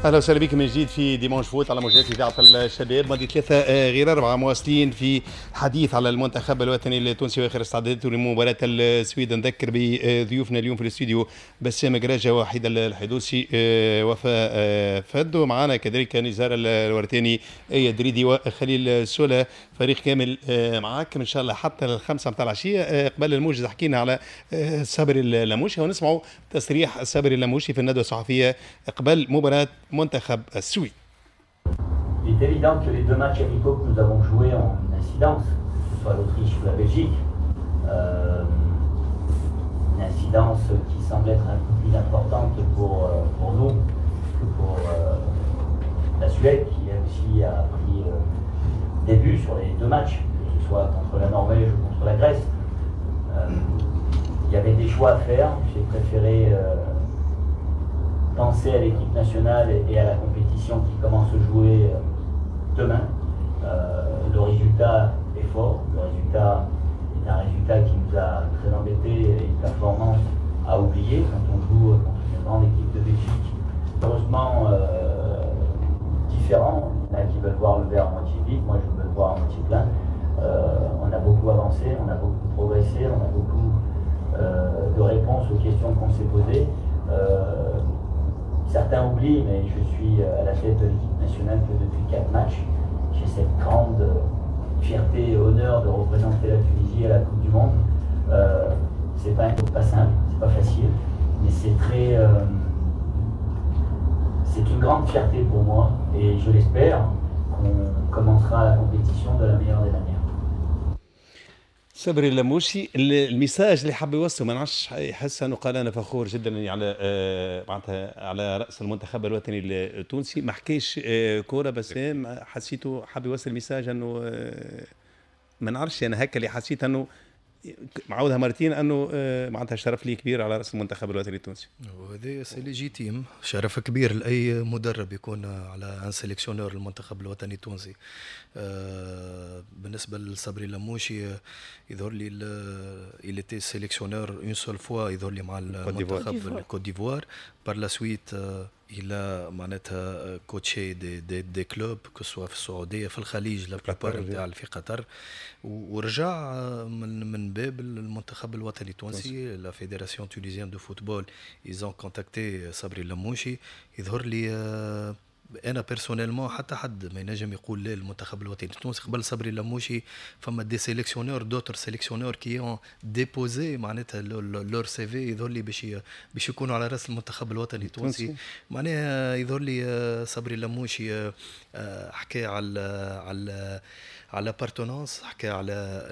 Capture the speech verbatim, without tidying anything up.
اهلا وسهلا بكم من جديد في Dimanche Foot على موجات اذاعة الشباب. ماضي ثلاثة آه، غير اربعه، مواصلين في حديث على المنتخب الوطني التونسي واخر استعداداته لمباراة السويد. نذكر بضيوفنا اليوم في الاستوديو بسام قراجه، وحيد الحدوسي، آه، وفاء آه، فد، ومعنا كذلك نزار الورتاني، اية دريدي وخليل سولا. فريق كامل معاكم ان شاء الله حتى الخمسة متاع العشيه. قبل الموجز حكينا على صبري اللموشي، ونسمعوا تصريح صبري اللموشي في الندوة الصحفية قبل مباراة منتخب السويد. Il est évident que les deux matchs amicaux que nous avons joués ont une incidence, que ce soit l'Autriche ou la Belgique. Euh, une incidence qui semble être un peu plus importante pour, euh, pour nous que pour euh, la Suède, qui elle aussi a pris euh, des buts sur les deux matchs, que ce soit contre la Norvège ou contre la Grèce. Euh, il y avait des choix à faire. J'ai préféré euh, penser à l'équipe nationale et à la compétition qui commence à jouer euh, demain. Euh, le résultat est fort, le résultat est un résultat qui nous a très embêtés et une performance à oublier quand on joue contre une grande équipe de Belgique. Heureusement, euh, différent. Il y en a qui veulent voir le verre à moitié vide, moi je veux le voir à moitié plein. Euh, on a beaucoup avancé, on a beaucoup progressé, on a beaucoup euh, de réponses aux questions qu'on s'est posées. Euh, certains oublient, mais je suis à la tête de l'équipe nationale que depuis quatre matchs. J'ai cette grande fierté et honneur de représenter la Tunisie à la Coupe du Monde. Euh, c'est pas, pas simple, c'est pas facile, mais c'est très. Euh, c'est une grande fierté pour moi et je l'espère qu'on commencera la compétition de la meilleure des manières. صبري اللموشي، ال message اللي حب يوصله ما نعرفش، يحس انه قال انا فخور جدا اني على آه، معناتها على راس المنتخب الوطني التونسي. ما حكيش آه، كوره، بس حسيته حب يوصل message انه آه، ما نعرفش، انا هكا اللي حسيت، انه معودها مرتين، انه معناتها شرف لي كبير على راس المنتخب الوطني التونسي. وهذا c'est légitime، شرف كبير لاي مدرب يكون على un sélectionneur المنتخب الوطني التونسي. آه، بالنسبة لصبري لموشي، يظهر لي il était sélectionneur une seule fois، يظهر لي مع المنتخب الكوت ديفوار. par la suite il a معناتها coaché des des des clubs، que ce soit في السعوديه، في الخليج، la plupart نتاع في قطر، ورجع من من باب المنتخب الوطني التونسي. la fédération tunisienne de football، ils ont contacté صبري اللموشي. يظهر لي انا personnellement حتى حد ما ينجم يقول لا المنتخب الوطني التونسي. قبل صبري اللموشي فما des sélectionneurs، d'autres sélectionneurs qui ont déposé معناتها leur CV، يظهر لي باش باش يكونوا على راس المنتخب الوطني التونسي. معناها يظهر لي صبري اللموشي آه، حكى على على على l'appartenance، حكى على